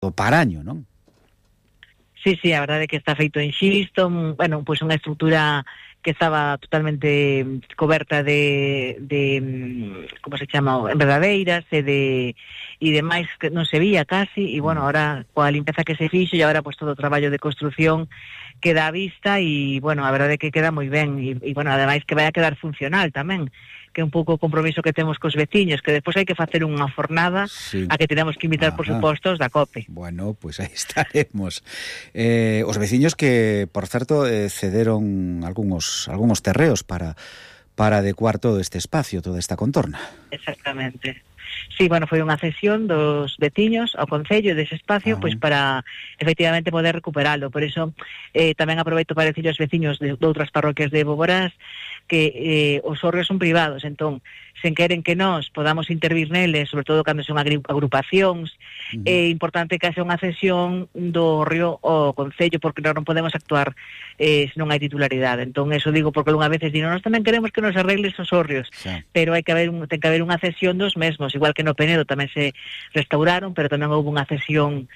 do paraño, non? Sí, a verdade é que está feito en xisto, bueno, pois unha estrutura que estaba totalmente coberta de como se chama, enredadeiras e demais que non se vía casi, e bueno, ahora coa limpeza que se fixo e agora pois todo o traballo de construción queda á vista e bueno, a verdade é que queda moi ben e bueno, ademais que vai a quedar funcional tamén, que é un pouco o compromiso que temos cos veciños, que despois hai que facer unha fornada a que tenemos que invitar, por suposto, os da COPE. Bueno, pois aí estaremos. Os veciños que, por certo, cederon algúns terreos para adecuar todo este espacio, toda esta contorna. Exactamente. Sí, bueno, foi unha cesión dos veciños ao Concello dese espacio, pois para efectivamente poder recuperalo. Por iso tamén aproveito para decir aos veciños de outras parroquias de Boborás que os hórreos son privados, entón, sen queren que nós podamos intervir neles, sobre todo cando son agrupacións, é importante que haxa unha cesión do hórreo ao Concello, porque nós non podemos actuar se non hai titularidade. Entón, eso digo porque algunha veces digo, nós tamén queremos que nos arregles os hórreos, pero ten que haber unha cesión dos mesmos, igual que no Penedo tamén se restauraron, pero tamén houve unha cesión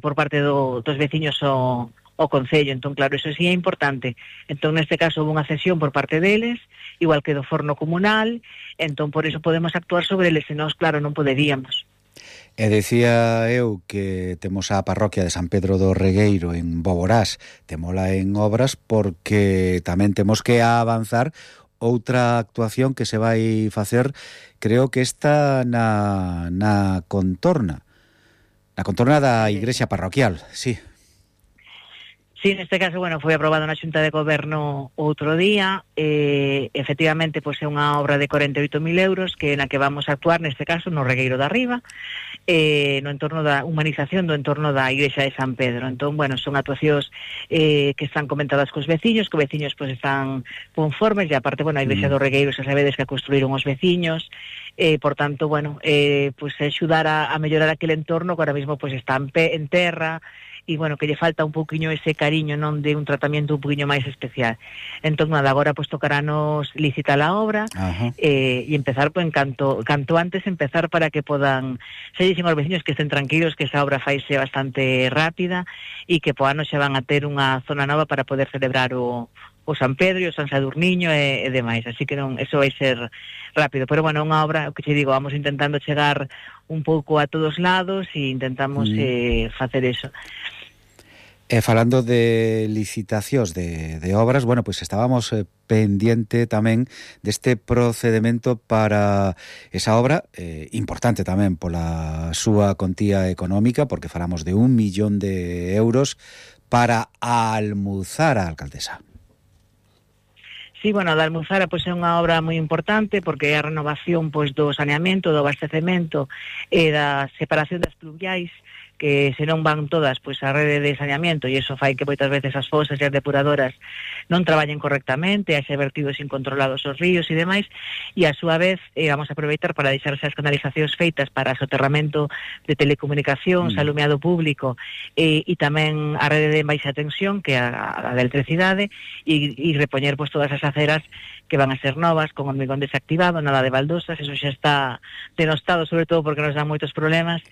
por parte dos veciños ao Concello. Entón, claro, eso sí é importante. Entón, neste caso, houve unha cesión por parte deles, igual que do forno comunal, entón, por iso podemos actuar sobre eles, e nós, claro, non poderíamos. E decía eu que temos a parroquia de San Pedro do Regueiro en Boborás, temola en obras porque tamén temos que avanzar outra actuación que se vai facer, creo que está na contorna da igrexa parroquial, sí. Sí, neste caso, bueno, foi aprobado na Xunta de Goberno outro día, efectivamente, pois é unha obra de 48.000 euros na que vamos a actuar, neste caso, no Regueiro da Riba, no entorno da humanización do entorno da igrexa de San Pedro. Entón, bueno, son actuacións que están comentadas cos veciños, que os veciños pois están conformes, e aparte, bueno, a igrexa do Regueiro xa sabedes que a construíron os veciños, por tanto, bueno, pois axudar a mellorar aquele entorno que ahora mismo pois está en terra, e, bueno, que lle falta un pouquiño ese cariño, non, de un tratamento un pouquiño máis especial. Entón, nada, agora pois tocarános licitar a obra e empezar, pois, canto antes empezar para que podan, se dicen aos veciños que estén tranquilos, que esa obra faise bastante rápida e que po ano xa van a ter unha zona nova para poder celebrar o San Pedro, o San Sadurniño e demais, así que non, eso vai ser rápido, pero bueno, unha obra, o que che digo, vamos intentando chegar un pouco a todos lados e intentamos facer eso. Falando de licitacións de obras, bueno, pois estábamos pendiente tamén deste procedimento para esa obra, importante tamén pola súa contía económica, porque falamos de 1 millón de euros para a Almuzara, alcaldesa. Sí, bueno, a da Almuzara pois é unha obra moi importante porque é a renovación pois do saneamento, do abastecemento e da separación das pluviais, que se non van todas pois a rede de saneamento, e iso fai que moitas veces as fosas e as depuradoras non traballen correctamente, haxe vertidos incontrolados aos ríos e demais, e a súa vez vamos a aproveitar para deixar as canalizacións feitas para soterramento de telecomunicacións, alumeado público e tamén a rede de baixa tensión, que é a de electricidade, e repoñer pois todas as aceras que van a ser novas, con hormigón desactivado, nada de baldosas, eso xa está denostado, sobre todo porque nos dan moitos problemas,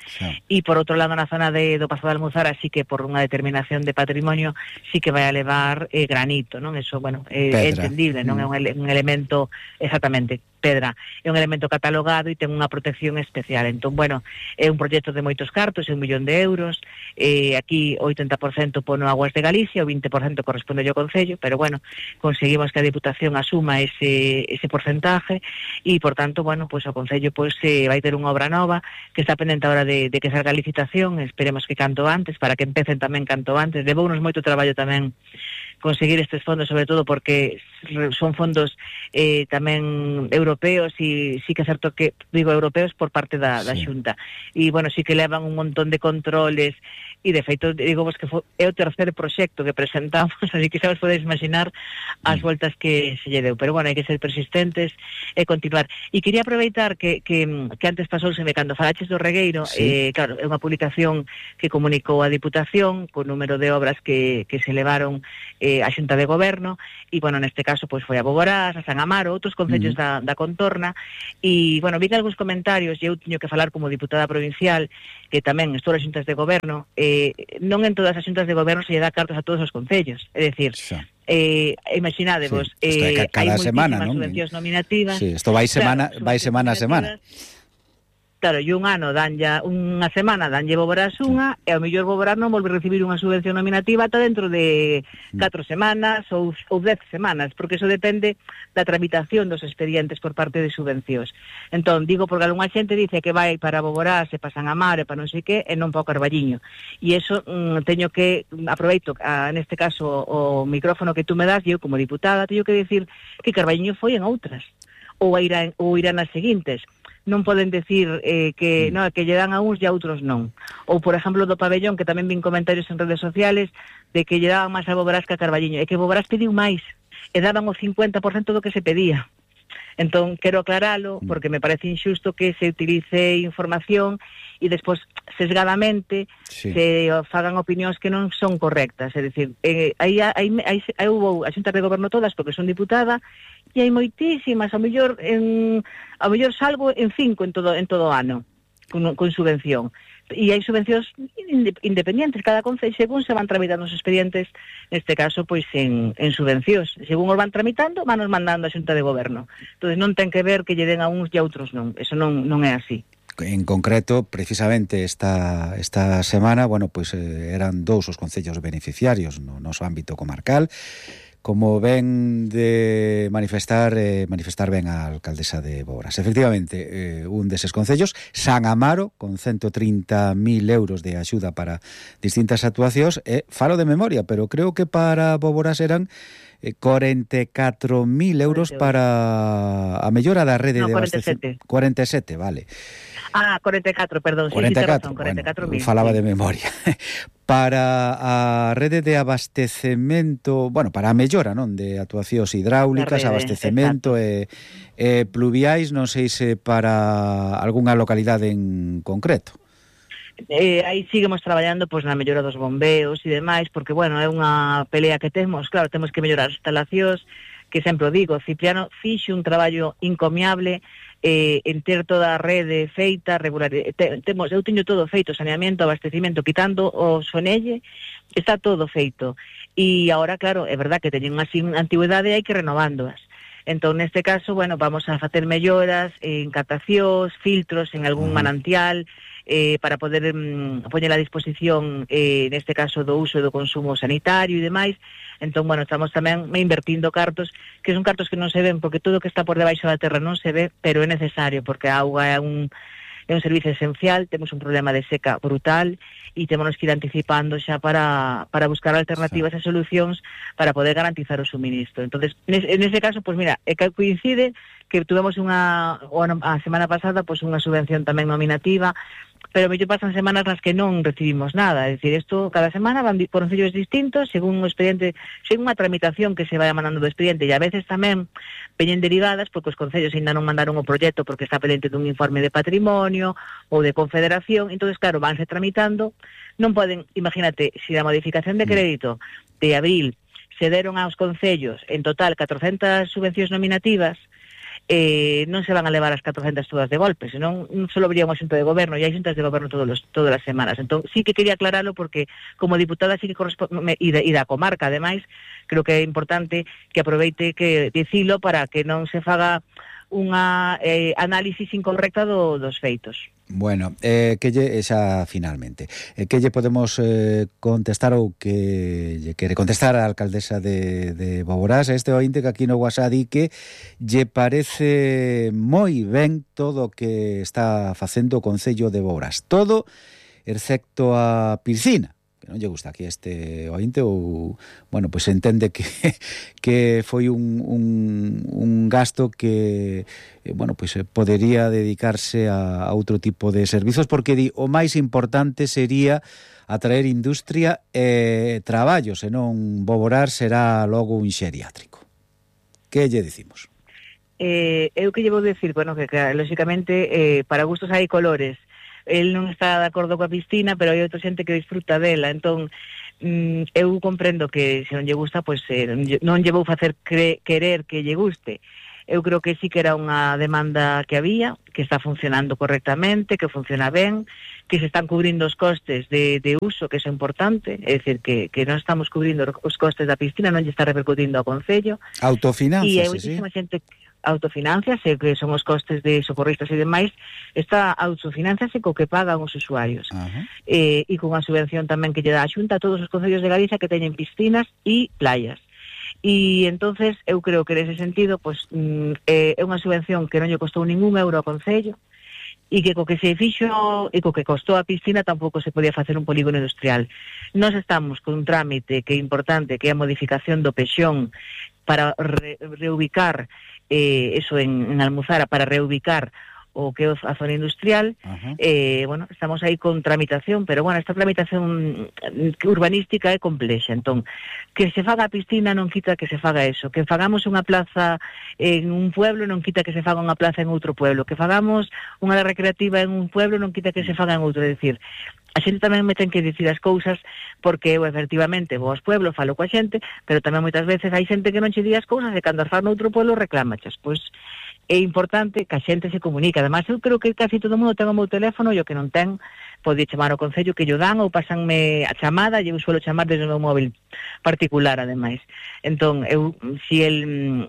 e por outro lado na zona do Pazo de Almuzara sí que por unha determinación de patrimonio sí que vai a levar granito, non? Eso, bueno, é entendible, non é un elemento, exactamente, pedra, é un elemento catalogado e ten unha protección especial. Entón, bueno, é un proxecto de moitos cartos, é 1 millón de euros, aquí o 80% pono Aguas de Galicia, o 20% corresponde ao Concello, pero bueno, conseguimos que a Diputación asuma ese porcentaje e, por tanto, bueno, pois o Concello pois vai ter unha obra nova que está pendente agora de que salga a licitación, esperemos que canto antes, para que empecen tamén canto antes. Levounos moito traballo tamén conseguir estes fondos, sobre todo porque son fondos tamén europeos, e sí que é certo que, digo europeos por parte da Xunta, e, bueno, sí que levan un montón de controles, e de feito, digo vos que é o terceiro proxecto que presentamos, así que xa vos podedes imaginar as voltas que se lle deu, pero, bueno, hai que ser persistentes e continuar. E quería aproveitar que antes pasouseme cando falaches do Regueiro, claro, é unha publicación que comunicou a Diputación co número de obras que se levaron a Xunta de Goberno, e, bueno, neste caso caso pois foi a Boborás, a San Amaro, outros concellos da contorna, e, bueno, vi algúns comentarios, e eu teño que falar como diputada provincial, que tamén estou nas xuntas de goberno, non en todas as xuntas de goberno se lle dá cartos a todos os concellos, é dicir, imaginadevos, hai moitísimas subvencións nominativas. Sí, isto vai semana a semana. Claro, e un ano danlle unha semana danlle Boborás unha, e ao mellor Boborás non volve a recibir unha subvención nominativa ata dentro de 4 semanas ou 10 semanas, porque eso depende da tramitación dos expedientes por parte de subvencións. Entón, digo, porque algunha xente dice que vai para Boborás e para San Amaro e para non sei que, e non para o Carballiño. E eso teño que, aproveito neste caso o micrófono que tú me das, e eu como diputada teño que decir que Carballiño foi en outras, ou irán nas seguintes. Non poden decir que lle dan a uns e a outros non. Ou, por exemplo, do pabellón, que tamén vin comentarios en redes sociales de que lle daban máis a Boborás que a Carballiño. E que Boborás pediu máis, e daban o 50% do que se pedía. Entón, quero aclaralo, porque me parece injusto que se utilice información e despois, sesgadamente, se fagan opinións que non son correctas. É dicir, aí houve a xunta de goberno todas, porque son diputada, e hai moitísimas, ao mellor salgo en 5 en todo o ano, con subvención. E hai subvencións independentes, cada concello, según se van tramitando os expedientes, neste caso, pois en subvencións. Según os van tramitando, van nos mandando a xunta de goberno. Entón, non ten que ver que lle den a uns e a outros non. Eso non é así. En concreto, precisamente esta semana, bueno, pois eran 2 os concellos beneficiarios no noso ámbito comarcal. Como ven de manifestar ben a alcaldesa de Boborás. Efectivamente, un deses concellos, San Amaro, con 130.000 euros de axuda para distintas actuacións, falo de memoria, pero creo que para Boborás eran 44.000 euros para a mellora da rede de abastecemento. 47, vale. 44, perdón. 44, sí, 44.000. Falaba de memoria. Para a rede de abastecemento, bueno, para a mellora, non, de actuacións hidráulicas, abastecemento e pluviais, non sei se para algunha localidade en concreto. Aí seguimos traballando pois na mellora dos bombeos e demais, porque, bueno, é unha pelea que temos, claro, temos que mellorar as instalacións, que sempre o digo, Cipriano fixo un traballo encomiable en ter toda a rede feita, regular. Eu teño todo feito, saneamento, abastecimento, quitando o sonelle, está todo feito. E agora, claro, é verdad que teñen así unha antigüedade e hai que renovándoas. Entón, neste caso, bueno, vamos a facer melloras en captacións, filtros en algún manantial, para poder poñer a disposición, neste caso, do uso e do consumo sanitario e demais. Entón, bueno, estamos tamén invertindo cartos, que son cartos que non se ven, porque todo o que está por debaixo da terra non se ve, pero é necesario, porque a auga é un servicio esencial, temos un problema de seca brutal, e temos que ir anticipando xa para buscar alternativas e solucións para poder garantizar o suministro. Entonces, nese caso, pues mira, coincide que tuvemos a semana pasada pues unha subvención tamén nominativa, pero mellor pasan semanas nas que non recibimos nada. É dicir, isto cada semana van por concellos distintos, según o expediente, según a tramitación que se vai mandando do expediente, e a veces tamén veñen derivadas porque os concellos ainda non mandaron o proxecto porque está pendente dun informe de patrimonio ou de confederación. Entonces, claro, vanse tramitando, non poden, imagínate, se a modificación de crédito de abril se deron aos concellos en total 400 subvencións nominativas, non se van a levar as 400 todas de golpe, senón só habría unha xunta de goberno, e hai xuntas de goberno todas as semanas. Entón, sí que quería aclararlo, porque como diputada sí que corresponde, e da comarca, ademais, creo que é importante que aproveite que dicilo para que non se faga unha análisis incorrecta dos feitos. Bueno, que lle, xa finalmente, que lle podemos contestar ou que lle quere contestar a alcaldesa de Boborás, este ointe que aquí no WhatsApp di que lle parece moi ben todo o que está facendo o Concello de Boborás, todo excepto a piscina, que non lle gusta aquí este ointe, ou, bueno, pois entende que foi un gasto que, bueno, pois podería dedicarse a outro tipo de servizos, porque di, o máis importante sería atraer industria e traballo, senón Boborás será logo un xeriátrico. Que lle dicimos? Eu que lle vou decir, bueno, que lógicamente para gustos hai colores. El non está de acordo coa piscina, pero hai outra xente que disfruta dela. Entón, eu comprendo que se non lle gusta, pois non lle vou facer querer que lle guste. Eu creo que sí que era unha demanda que había, que está funcionando correctamente, que funciona ben, que se están cubrindo os costes de uso, que é importante, é dicir, que non estamos cubrindo os costes da piscina, non lle está repercutindo ao Concello. Autofinanciase, e hai moitísima xente autofinanciase, que son os costes de socorristas e demais, está autofinanciase co que pagan os usuarios. E con a subvención tamén que lle dá a Xunta a todos os concellos de Galicia que teñen piscinas e playas. E entonces eu creo que nese sentido pues, é unha subvención que non lle costou ningún euro ao Concello, e que co que se fixo e co que costou a piscina tampouco se podía facer un polígono industrial. Nós estamos con un trámite que é importante, que é a modificación do Pexón para reubicar eso en Almuzara, para reubicar o que é a zona industrial. Bueno, estamos aí con tramitación, pero bueno, esta tramitación urbanística é complexa, entón, que se faga a piscina non quita que se faga eso, que fagamos unha plaza en un pueblo non quita que se faga unha plaza en outro pueblo, que fagamos unha área recreativa en un pueblo non quita que se faga en outro, é dicir, a xente tamén me ten que dicir as cousas, porque eu efectivamente vou aos pueblos, falo coa xente, pero tamén moitas veces hai xente que non che di as cousas e cando as fan noutro pueblo reclámachas. Pois é importante que a xente se comunique. Ademais, eu creo que casi todo o mundo ten o meu teléfono, e o que non ten pode chamar ao Concello que llo dan ou pasanme a chamada, e eu suelo chamar desde o meu móvil particular, ademais. Entón, eu, si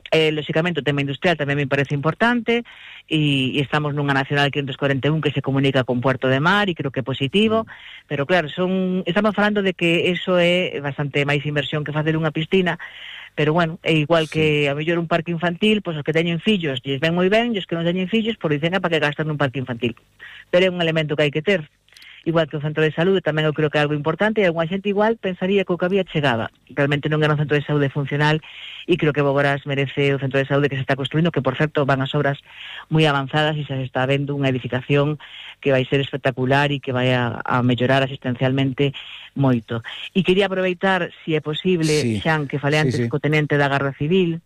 lóxicamente o tema industrial tamén me parece importante, e estamos nunha Nacional 541 que se comunica con Puerto de Mar, e creo que é positivo, pero claro, estamos falando de que eso é bastante máis inversión que facer unha piscina, pero bueno, é igual que a mellor un parque infantil, pois os que teñen fillos lles ven moi ben, e os que non teñen fillos, por dicen para que gastan nun parque infantil. Pero é un elemento que hai que ter. Igual que o centro de saúde, tamén eu creo que é algo importante, e alguna xente igual pensaría que o que había chegaba. Realmente non era un centro de saúde funcional, e creo que Boborás merece o centro de saúde que se está construindo, que por certo van as obras moi avanzadas e se está vendo unha edificación que vai ser espectacular e que vai a mellorar asistencialmente moito. E quería aproveitar, se é posible, Xan, que falei antes co tenente da Garda Civil,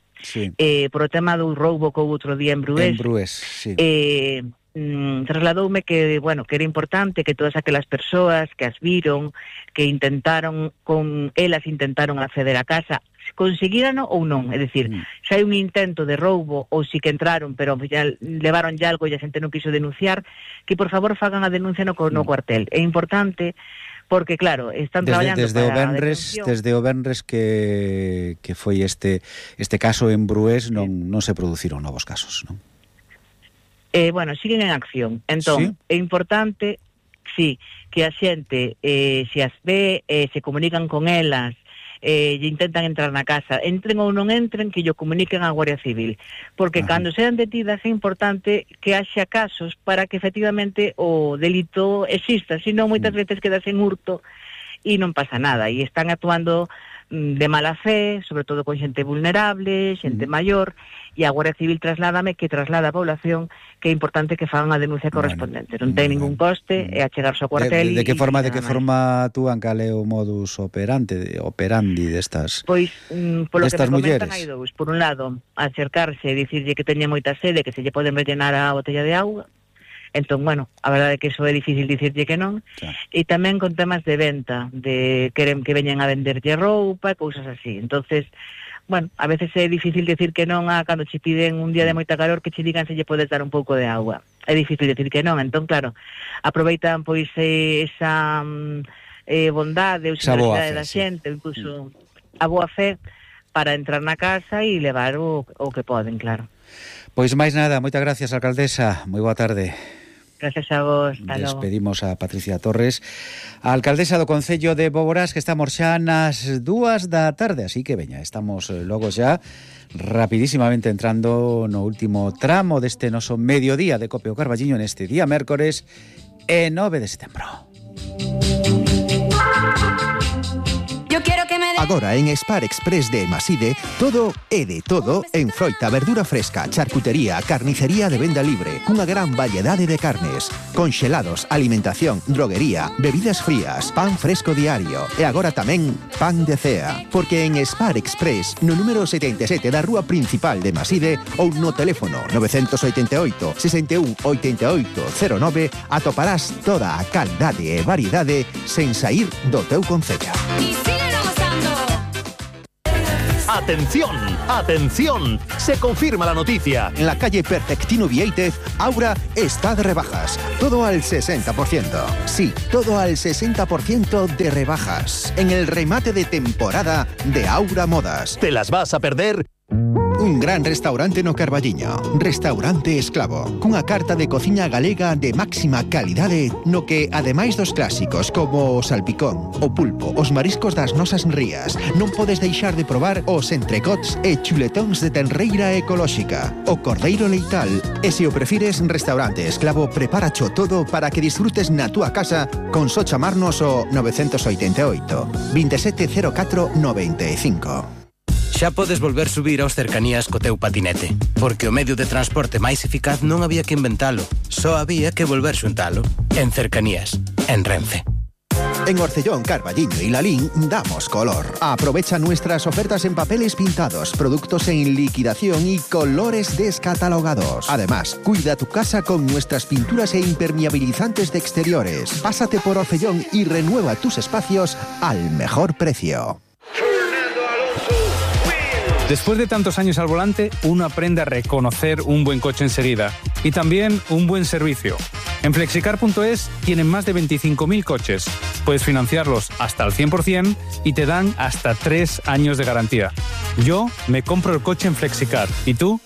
por o tema do roubo que houve outro día en Brués. En Brués, trasladoume que, bueno, que era importante que todas aquelas persoas que as viron, que intentaron acceder a casa, conseguiran ou non, é dicir, se hai un intento de roubo ou si que entraron, pero ya levaron ya algo e a xente non quiso denunciar, que por favor fagan a denuncia no cuartel. É importante porque claro, están traballando desde o venres que foi este caso en Brués non se produciron novos casos, non? Bueno, siguen en acción. Entón, é importante, que a xente, se as ve, se comunican con elas, e intentan entrar na casa, entren ou non entren, que llo comuniquen á Guardia Civil, porque cando sean detidas é importante que haxa casos para que efectivamente o delito exista, senón moitas veces quedas en hurto e non pasa nada, e están actuando de mala fe, sobre todo con xente vulnerable, xente maior, e a Guardia Civil traslada a población que é importante que fagan a denuncia correspondente. Non ten ningún coste, é achegarse ao cuartel. De que forma actúan, cal é o modus operandi destas pois, polo que me comentan, mulleres? hai dous. Por un lado, acercarse e dicirlle que teña moita sede, que se lle poden rellenar a botella de auga. Entón, bueno, a verdade é que iso é difícil dicirlle que non. E tamén con temas de venta, de queren que veñan a venderlle roupa, cousas así. Entonces, bueno, a veces é difícil decir que non cando che piden un día de moita calor que che digan se lle podes dar un pouco de agua. É difícil decir que non. Entón, claro, aproveitan pois esa bondade ou generosidade da xente, incluso a boa fe, para entrar na casa e levar o que poden, claro. Pois máis nada, moitas gracias, alcaldesa. Moi boa tarde. Gracias a vos. Despedimos a Patricia Torres, a alcaldesa do Concello de Boborás, que estamos xa nas 2 da tarde, así que veña, estamos logo xa rapidísimamente entrando no último tramo deste noso mediodía de Cope o Carballiño neste día mércores 9 de setembro. Yo quiero que me Agora en Spar Express de Maside, todo é de todo en froita, verdura fresca, charcutería, carnicería de venda libre, cunha gran variedade de carnes, conxelados, alimentación, droguería, bebidas frías, pan fresco diario e agora tamén pan de cea. Porque en Spar Express, no número 77 da rúa principal de Maside ou no teléfono 988 61 88 09 atoparás toda a calidade e variedade sen saír do teu concello. ¡Atención! ¡Atención! Se confirma la noticia. En la calle Perfectino Vieitez, Aura está de rebajas. Todo al 60%. Sí, todo al 60% de rebajas. En el remate de temporada de Aura Modas. ¿Te las vas a perder? Un gran restaurante no Carballiño, Restaurante Esclavo, cunha carta de cociña galega de máxima calidade no que, ademais dos clásicos como o salpicón, o pulpo, os mariscos das nosas rías, non podes deixar de probar os entrecots e chuletóns de tenreira ecolóxica, o cordeiro leital, e se o prefires, Restaurante Esclavo preparacho todo para que disfrutes na túa casa con só chamarnos o 988 2704 95. Xa podes volver subir aos cercanías co teu patinete, porque o medio de transporte máis eficaz non había que inventalo, só había que volver xuntalo. En Cercanías, en Renfe. En Orcellón, Carballiño y Lalín damos color. Aprovecha nuestras ofertas en papeles pintados, productos en liquidación y colores descatalogados. Además, cuida tu casa con nuestras pinturas e impermeabilizantes de exteriores. Pásate por Orcellón y renueva tus espacios al mejor precio. Después de tantos años al volante, uno aprende a reconocer un buen coche enseguida y también un buen servicio. En Flexicar.es tienen más de 25.000 coches. Puedes financiarlos hasta el 100% y te dan hasta 3 años de garantía. Yo me compro el coche en Flexicar. ¿Y tú?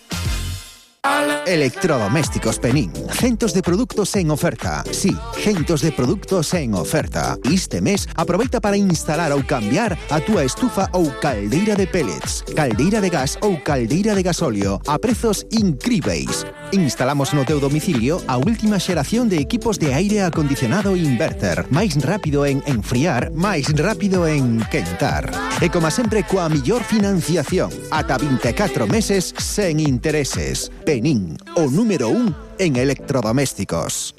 Electrodomésticos Penín. Centos de productos en oferta. Sí, centos de productos en oferta. Este mes aproveita para instalar ou cambiar a túa estufa ou caldeira de pellets, caldeira de gas ou caldeira de gasóleo a prezos incríveis. Instalamos no teu domicilio a última xeración de equipos de aire acondicionado inverter. Máis rápido en enfriar, máis rápido en quentar. E como sempre, coa millor financiación. Ata 24 meses sen intereses. Penín, o número 1 en electrodomésticos.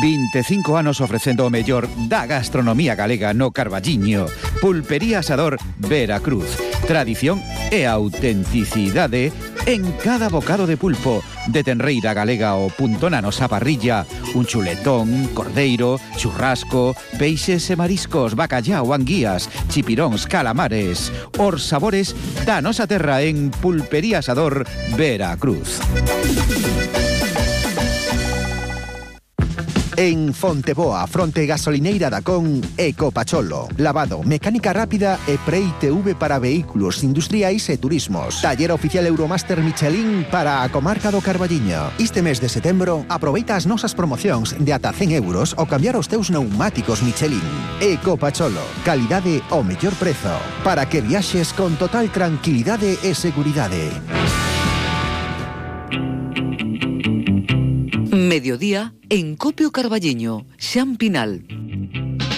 25 anos ofrecendo o mellor da gastronomía galega no Carballiño. Pulpería Asador Veracruz. Tradición e autenticidade en cada bocado de pulpo. De tenreira galega o punto na nosa parrilla. Un chuletón, cordeiro, churrasco, peixes e mariscos, bacallao, anguías, chipiróns, calamares. Os sabores da nosa terra en Pulpería Asador Veracruz. En Fonteboa, fronte gasolineira da Con, Ecopacholo. Lavado, mecánica rápida e pre-ITV para vehículos industriais e turismos. Taller oficial Euromaster Michelin para a comarca do Carballiño. Este mes de setembro, aproveita as nosas promocións de ata 100 euros ao cambiar os teus pneumáticos Michelin. Ecopacholo, calidade ao mellor prezo. Para que viaxes con total tranquilidade e seguridade. Mediodía en Copio Carballiño, Xan Pinal.